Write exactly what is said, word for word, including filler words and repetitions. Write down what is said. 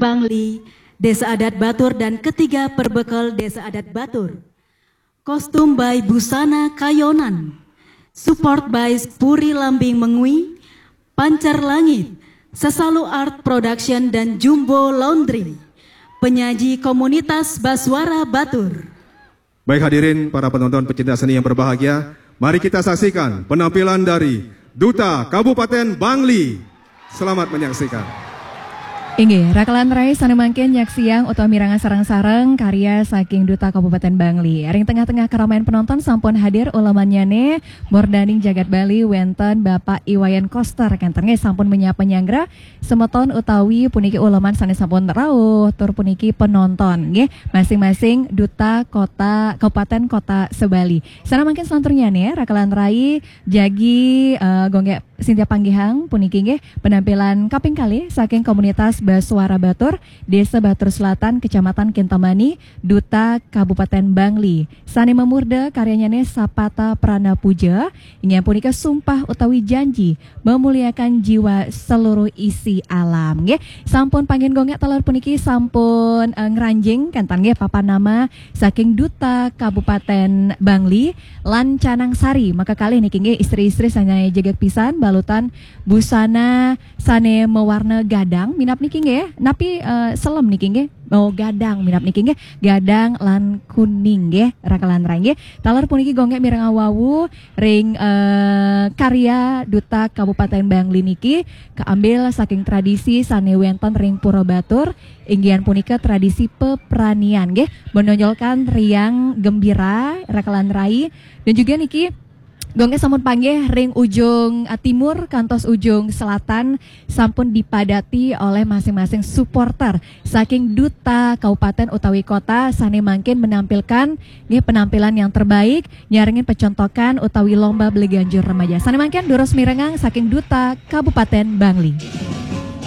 Bangli, Desa Adat Batur dan ketiga Perbekel Desa Adat Batur. Kostum by Busana Kayonan. Support by Puri Lambing Mengwi, Pancar Langit, Sesalu Art Production dan Jumbo Laundry. Penyaji komunitas Basuara Batur. Baik hadirin para penonton pecinta seni yang berbahagia, mari kita saksikan penampilan dari Duta Kabupaten Bangli. Selamat menyaksikan. Inggih, rakalan rai sane mangkin nyaksiang utawi mirengang sareng-sareng karya saking Duta Kabupaten Bangli. Ring tengah-tengah keramaian penonton sampun hadir ulemannyane, murdaning jagat Bali wenten Bapak Iwayan Koster kenten nggih sampun menyapa nyanggra semeton utawi puniki uleman sane sampun rauh tur puniki penonton nggih masing-masing Duta Kota Kabupaten Kota Sebali. Sana mangkin selanturnyane rakalan rai jagi eh, gonggek Sintia Panggihang puniki nggih penampilan kaping kalih saking komunitas Basuara Batur, Desa Batur Selatan, Kecamatan Kintamani, Duta Kabupaten Bangli. Sane mamurda karyanyane Sapata Prana Puja, inggih punika sumpah utawi janji memuliakan jiwa seluruh isi alam nggih. Sampun panggen gonggek taler puniki sampun eh, ngranjing kenten nggih papan nama saking Duta Kabupaten Bangli lan Canang Sari. Maka kalih niki nggih istri-istri sane jegeg pisan balutan busana sane mewarna gadang minap niki nggih. Napi eh, selem niki nggih? Oh gadang minap niki nggih. Gadang lan kuning nggih rakalan rai nggih. Taler puniki gonggek mirengang wau ring eh, karya Duta Kabupaten Bangli niki keambil saking tradisi sane wenten ring Pura Batur, inggihan punika tradisi pepranian nggih, menonjolkan riang gembira rakalan rai dan juga niki gonggek sampun panggih ring ujung eh, timur kantos ujung selatan sampun dipadati oleh masing-masing supporter saking Duta Kabupaten utawi Kota sane mangkin menampilkan nggih penampilan yang terbaik nyarengin pecontokan utawi lomba beli ganjur remaja. Sane mangkin durus mirengang saking Duta Kabupaten Bangli.